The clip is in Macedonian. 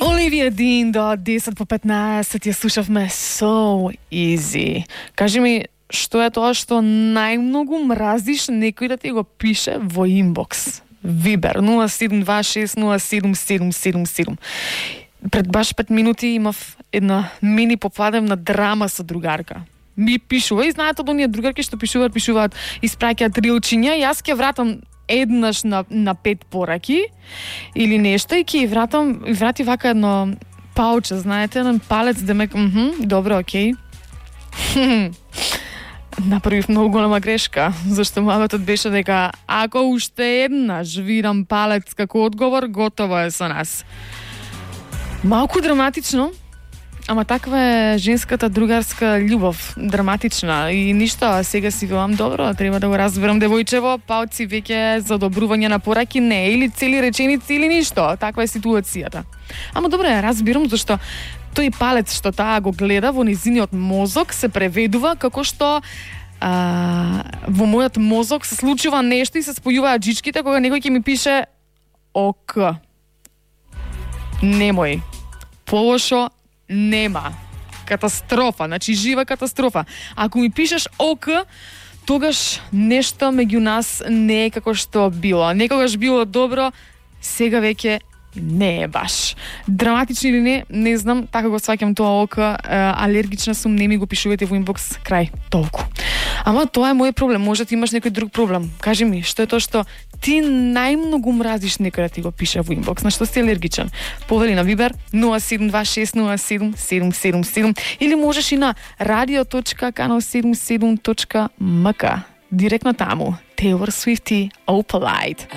Оливија Дин до 10 по 15 ја слушавме So Easy. Кажи ми, што е тоа што најмногу мразиш некој да ти го пише во инбокс? Вибер 0726077777. Пред баш 5 минути имав една мини попладевна драма со другарка. Ми пишува и знаете од оние другарки што пишуваат, испраќаат рилчиња и јас ќе вратам еднаш на 5 пораки или нешто и ќе врати вака едно пауче, знаете, еден палец демек, добро, окей. Направив многу голема грешка, зашто маматот беше дека ако уште еднаш видам палец како одговор, готово е со нас. Малку драматично, ама таква е женската другарска љубов, драматична и ништо, сега си велам добро, треба да го разберам девојчево, палци веќе за добрување на пораки не, или цели реченици или ништо, таква е ситуацијата. Ама добро, ја разбирам зашто тој палец што таа го гледа во низиниот мозок се преведува како што во мојот мозок се случува нешто и се спојуваат жичките кога некој ќе ми пише ок. Немој. Полошо нема. Катастрофа, значи жива катастрофа. Ако ми пишеш ок, тогаш нешто меѓу нас не е како што било. Некогаш било добро, сега веќе не е баш. Драматично или не, не знам, така го сваќам тоа ока, алергична сум, не ми го пишувате во инбокс, крај, толку. Ама тоа е мој проблем, може да имаш некој друг проблем. Кажи ми, што е тоа што ти најмногу мразиш некој да ти го пише во инбокс, на што си алергичен? Повели на Вибер 0726077777 или можеш и на radio.canal77.mk. Директно таму. Taylor Swift и Opalite.